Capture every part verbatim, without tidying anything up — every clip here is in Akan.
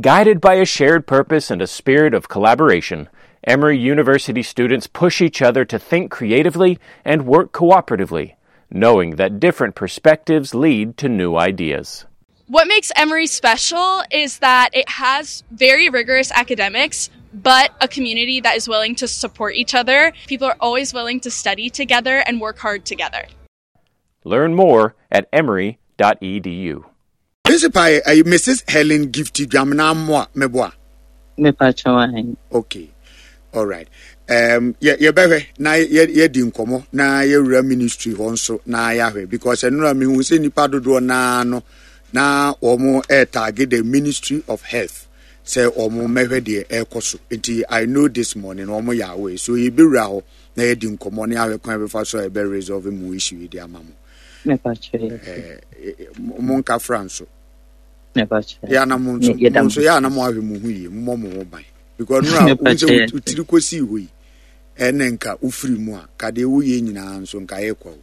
Guided by a shared purpose and a spirit of collaboration, Emory University students push each other to think creatively and work cooperatively, knowing that different perspectives lead to new ideas. What makes Emory special is that it has very rigorous academics, but a community that is willing to support each other. People are always willing to study together and work hard together. Learn more at emory dot e d u. Principal, uh, Missus Helen Gifty Dwamena Mmoa Meboa. Mepa. Okay, all right. Um, yɛbɛhwɛ na yɛdi nkɔmmɔ na yɛwura ministry hɔ nso na yɛahwɛ, because ɛnora mehu sɛ nnipa dodoɔ naa no na wɔn ɛretag the Ministry of Health sɛ wɔn mmɛhwɛ deɛ ɛrekɔ so. Nti I know this morning wɔn yɛ away, so yɛbɛwura hɔ na yɛdi nkɔmmɔ na yɛahwɛ kwan bɛfa so a yɛbɛ resolve mu issue yi de ama mo. Mo nka fra nso yɛ ana mo nso mo nso yɛ ana mo ahwɛ mo ho yie, mo mmɔ mo ho ban, because nura wo sɛ wotiri kɔsii hɔ yi, ɛne nka wofiri mu a ka deɛ woyɛ nyinaa nso nka yɛ kwa o.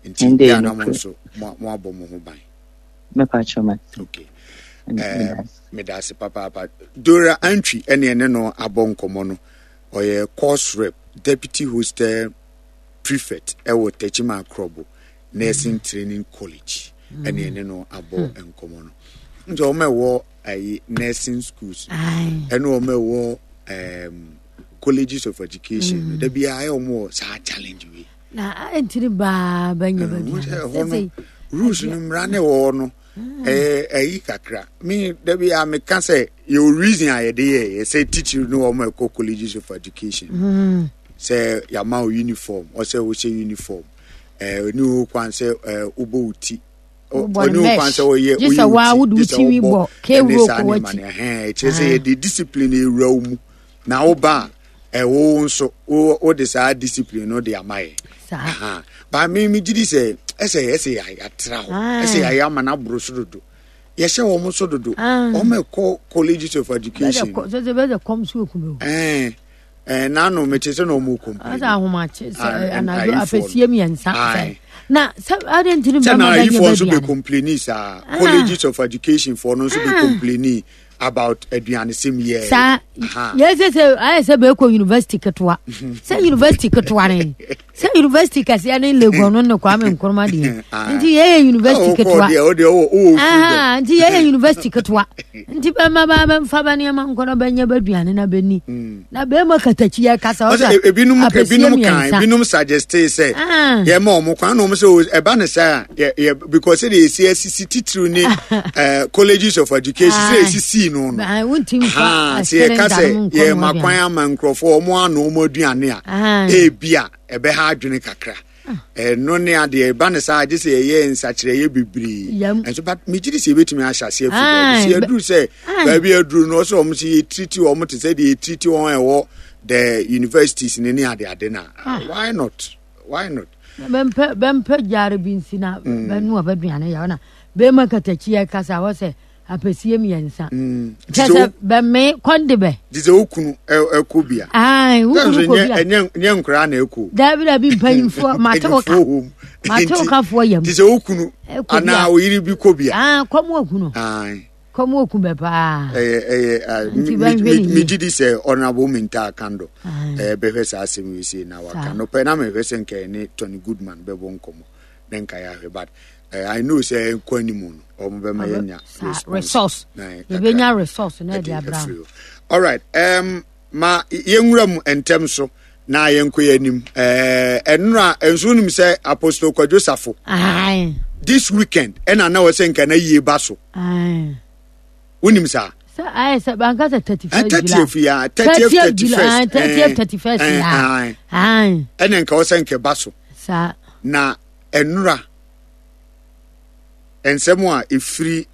Nti yɛ ana mo nso mo abɔ mo ho ban. Okay, meda ase papaapa. Dora Antwi ɛne ɛne no abɔ nkɔmmɔ no. Ɔyɛ course rep, deputy hostel prefect ɛwɔ Techiman Krobo Nursing Training College, ɛne ɛne no abɔ nkɔmmɔ no. Nti wɔn a ɛwɔ ayi nursing schools ɛne wɔn a ɛwɔ um, colleges of education mm. dabi a ayɛ wɔn wɔ saa challenge wei. Na ntiri baa bɛnyɛ baabi. Ɛhɔ no, rules no, mmara ne wɔ hɔ no, ɛyɛ ɛyi kakra. Mi dabi a meka sɛ yɛwɔ reason a yɛde yɛ yɛ sɛ teacher no, wɔn a ɛkɔ colleges of education, mm. sɛ yɛama wo uniform, ɔsɛ wohyɛ uniform, ɛɛ oni wo kwan sɛ ɛɛ wobɔ wo ti, ɔne wo kwan sɛ wɔyɛ woyɛ wo ti gye sɛ wobɔ ɛne saa nneɛma no. Ɛhɛn, ɛkyerɛ sɛ yɛde discipline ewura wo mu na woba a, ɛwo nso wode saa discipline no de ama yɛ. Ba mi mi gyi di sɛ ɛsɛ ɛsɛ yɛatra hɔ, ɛsɛ yɛayɛ ama no aboro so dodo, yɛhyɛ wɔn so dodo, wɔn ɛkɔ colleges of education. Bɛsɛ kɔm so okun. Ɛɛ ɛɛ nanu mete sɛ na ɔmo complain. Ɔsɛ ahomakye sɛ anadwo apɛsie mmiɛnsa na sɛ adi ntini. Sɛ na ayifoɔ nso bɛ complain saa, colleges of education foɔ no nso bɛ complain about aduanesɛm yɛ. Saa yɛ sɛ sɛ ayɛ sɛ bɛkɔ university ketewa, sɛ university ketewa ne sɛ university kɛseɛ ne Legon no ne Kwame Nkrumah deɛ, nti yɛyɛ university ketewa. Nti yɛyɛ university ketewa, nti bɛma ba bɛmfa bɛ nneɛma nkɔ na bɛnyɛ bɛduane na bɛni na bɛma katakyi yɛ kasa. Ɔsɛ ebinom ebinom kan ebinom suggest sɛ yɛma ɔmo kwan na ɔmo sɛ ɛba ne sɛ yɛ yɛ because sɛ de esi esisi titiriw ne ɛɛ colleges of education sɛ esisi no no sɛ yɛka sɛ yɛma kwan ama nkurɔfoɔ ɔmo ano ɔmo aduane a, ebi a ɛbɛha adwene kakra. Ɛno ne adeɛ ɛba ne saa, agye sɛ yɛyɛ nsakyerɛeɛ bebree ɛnso, but megye di sɛ yɛbɛtumi ahyɛ aseɛ afiri baabi sɛ yɛduru sɛ baabi aduru no, ɔsɛ ɔmo sɛ yɛtreat wɔn te sɛ deɛ yɛtreat wɔn a ɛwɔ the universities ne ne adeade no a, why not? Why not? Bɛmpɛ bɛmpɛ gyaare bi nsi na bɛnoa bɛduane yɛ na bɛma katakyi yɛ kasa hɔ sɛ apɛsie mmiɛnsa kyɛ sɛ bɛme kɔnde bɛ. Te sɛ wo kunu ɛkɔ bia. Wo kunu kɔ bia. Ɛnyɛ nkoraa na ɛkɔ. Dabi dabi, mpanyimfoɔ mate wo ka, mate wo kafoɔ yam. Te sɛ wo kunu anaa wo yere bi kɔ bia. Kɔm okunu, kɔm oku bɛ paa. Ɛyɛ ɛyɛ megye di sɛ Honorable Mintah Akandoh ɛyɛ bɛhwɛ saa asɛm yi sei na waka no pɛ na mehwɛ sɛ nka ɛne Tony Goodman bɛbɔ nkɔmmɔ na nka yɛahwɛ, but uh, I know sɛ nkɔ anim no, ɔmo bɛma yɛnya resource, yɛbɛnya resource na ɛde abra. All right, um, ma yɛnwura mu ntɛm so na yɛnkɔ yɛ anim. Ɛnora nso wonim sɛ Apostle Kwadwo Safo this weekend ɛna na wɔ sɛ nka na yie ba so, wonim saa? Sɛ ayɛ sɛ banka sɛ thirty first. Thirtieth ya, thirtieth, thirty first. Thirtieth, thirty first ya. Ɛna nka wɔ sɛ nka ba so. Saa. Na ɛnora nsɛm a ɛfiri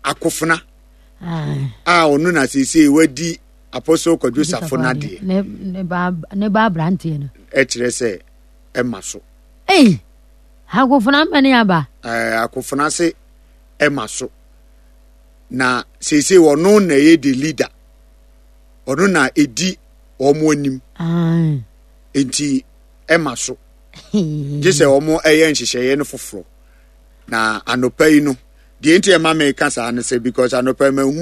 Akofena a ɔno na seesei wadi Apostle Kwadwo Safo n'adeɛ. Ne ba aberanteɛ no. Ɛkyerɛ sɛ ɛma so. Ei, Akofena mmɛne aba. Ɛɛ akofena se ɛma so na seesei ɔno na ɛyɛ the leader, ɔno na ɛdi wɔn anim, nti ɛma so gye sɛ wɔn ɛyɛ nhyehyɛeɛ no foforɔ. Na anɔpa yi no deɛ, nti ɛma meka saa no sɛ because anɔpa yi mahu